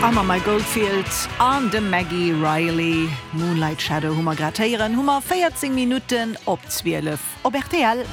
A mam Mike Oldfield an dem Maggie Reilly, Moonlight Shadow hu mer grad héieren, hu mer 14 Minutten op 12 op rtl.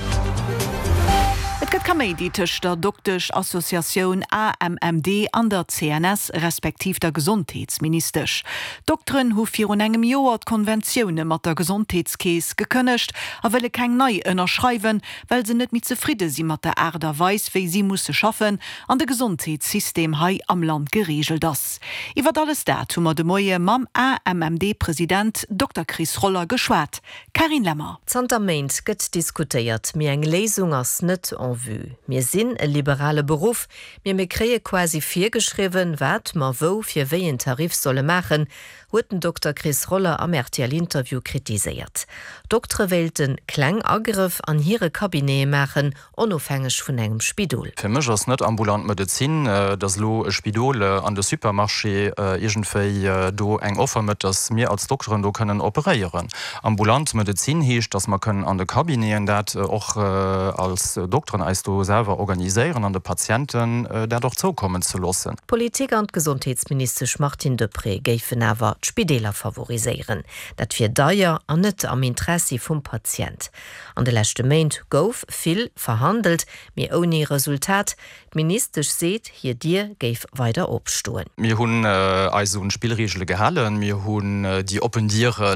Et gëtt Kaméidi tëscht der Doktesch-Associatioun AMMD an der CNS, respektiv der Gesondheetsministesch. D'Dokteren hu virun engem Joer d'Konventioune mat der Gesondheetskeess gekënnegt a wëlle keng nei ënnerschreiwen, well se net méi zefridde si mat der Aart a Weis, wéi si musse schaffen an de Gesondheetssystem hei am Land gereegelt ass. Iwwert alles dat hu mer de Moie mam AMMD-President Dokter Chris Roller geschwat. Carine Lemmer. Zanter Méint gëtt diskutéiert, mee eng Léisung ass net en vue. Mir sinn e liberale Beruff, mee mir kréie quasi virgeschriwwen, wat mer wou fir wéi een Tarif solle maachen, huet den Dokter Chris Roller am RTL-Interview kritiséiert. D'Doktere wéilte kleng Agrëff an hire Cabinete maachen, onofhängeg vun engem Spidol. Fir mech ass net ambulant Medezin, dass elo e Spidol an de Supermarché iergendwéi do eng Offer mécht, dass mir als Dokteren do kënnen operéieren. Ambulant Medezin heescht, dass mer kënnen an de Cabineten dat och als Dokteren eis do selwer organiséieren an de Patienten dat och zoukommen ze loossen. D'Politik an d'Gesondheetsministesch Martine Deprez géifen awer d'Spideeler favoriséieren. Dat wier deier an net am Interessi vum Patient. An de leschte Méint gouf vill verhandelt, mee ouni Resultat. D'Ministesch seet, hir Dier géif weider opstoen. Mir hunn eis un d'Spillreegele gehalen. Mir hunn déi oppen Diere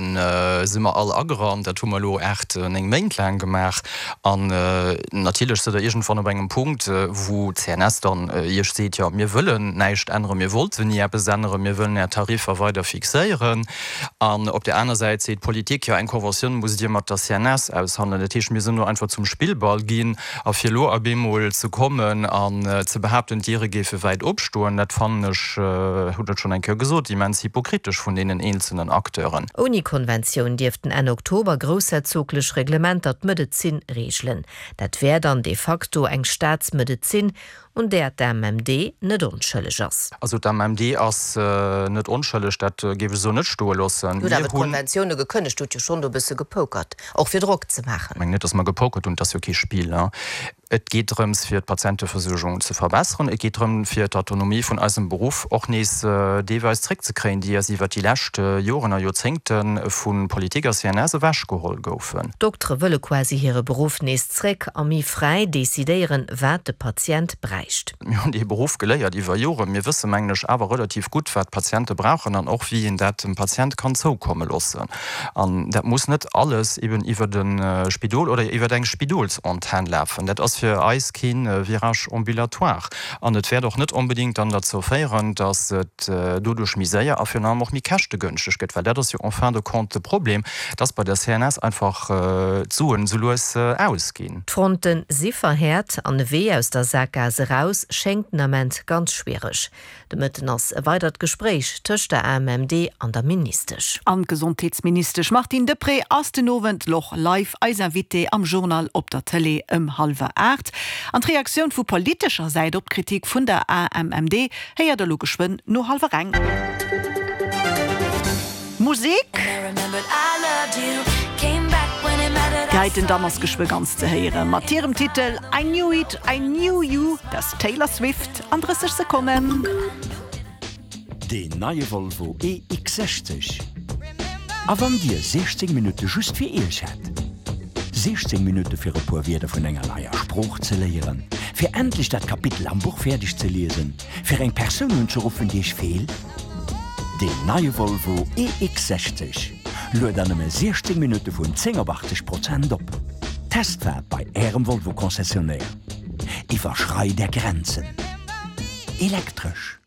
si mer all agerannt. Dat hu mer elo 8, 9 Méint laang gemaach. An natierlech sidd Der iergendwann op engem Punkt, wou d'CNS dann Iech seet, jo mir wëllen näischt änneren, mir wollten ni eppes änneren, mir wëllen Är Tariffer weider fixéieren. An op där aner Säit seet d'Politik, jo eng Conventioun musst Dir mat der CNS aushandelen. Dat heescht, mir sinn do einfach zum Spillball ginn. A fir elo op eemol ze kommen an ze behaapten, d'Diere géife wäit opstoen, dat fannen ech, hunn et schonn eng Kéier gesot, immens hypokritesch vun deenen eenzelnen Acteuren. Ouni Konventioun dierften Enn Oktober groussherzoglech Reglementer d'Medezin reegelen. Dat wär dann de facto eng Staatsmedezin, un där d'AMMD net onschëlleg ass. Also d'AMMD ass net onschëlleg, dat géif ech esou net stoe loossen. Dir hutt awer d'Konventioune gekënnegt, hutt jo schonn do e bësse gepokert, och fir Drock ze maachen. Ech mengen net, datt mer gepokert hunn, et ass jo kee Spill. Et geet drëms, fir d'Patienteversuergung ze verbesseren. Et geet drëm, fir d'Autonomie vun eisem Beruff och nees deelweis zréckzekréien, déi eis iwwert déi lescht Joren a Joerzéngte vu Politik a CNS ewechgeholl goufen. D'Doktere wëlle quasi hire Beruff nees zréck a méi fräi decidéieren, wat de Patient bräicht. Mir hunn dee Beruff geléiert iwwer Joren. Mir wësse mengen ech awer relativ gutt, wat d'Patiente brauchen an och wéi een dat dem Patient kann zoukomme loossen. An dat muss net alles eben iwwert e Spidol oder iwwert eng Spidolsantenn lafen. Dat ass fir eis kee Virage ambulatoire. An et wäert och net onbedéngt dann derzou féieren, datt et doduerch méi séier a virun allem och méi käschtegënschteg gëtt, well dat ass jo en fin de compte de Problem, dass bei der CNS einfach d'Suen esou lues ausginn. D'Fronte si verhäert an e Wee aus der Sakgaass eraus schéngt den Ament ganz schwiereg. De Mëtten ass e weidert Gespréich tëscht der AMMD an der Ministesch. An d'Gesondheetsministesch Martine Deprez ass den Owend och live eis Invitée am Journal op der Tëlee ëm hallwer 8. An d'Reaktioun vu politescher Säit op d'Kritik vun der AMMD héiert der lo geschwënn no hallwer eng. Musek! Déi heiten Damm ass geschwë ganz ze héiere mat hirem Titel I Knew It, I Knew You, dat ass d'Taylor Swift an 30 Sekonnen. Deen neie Volvo EX60. A wann Dir 16 Minutte just fir Iech hätt? 16 Minutte fir e puer Wierder vun enger neier Sprooch ze léieren, fir endlech dat Kapitel am Buch fäerdeg ze liesen, fir eng Persoun unzeruffen, déi Iech feelt? Deen neie Volvo EX60 luet an nëmme 16 Minutte vun 10 op 80 Prozent op. Testfaart bei Ärem Volvo Concessionnaire. Iwwerschreit Är Grenzen. Elektresch.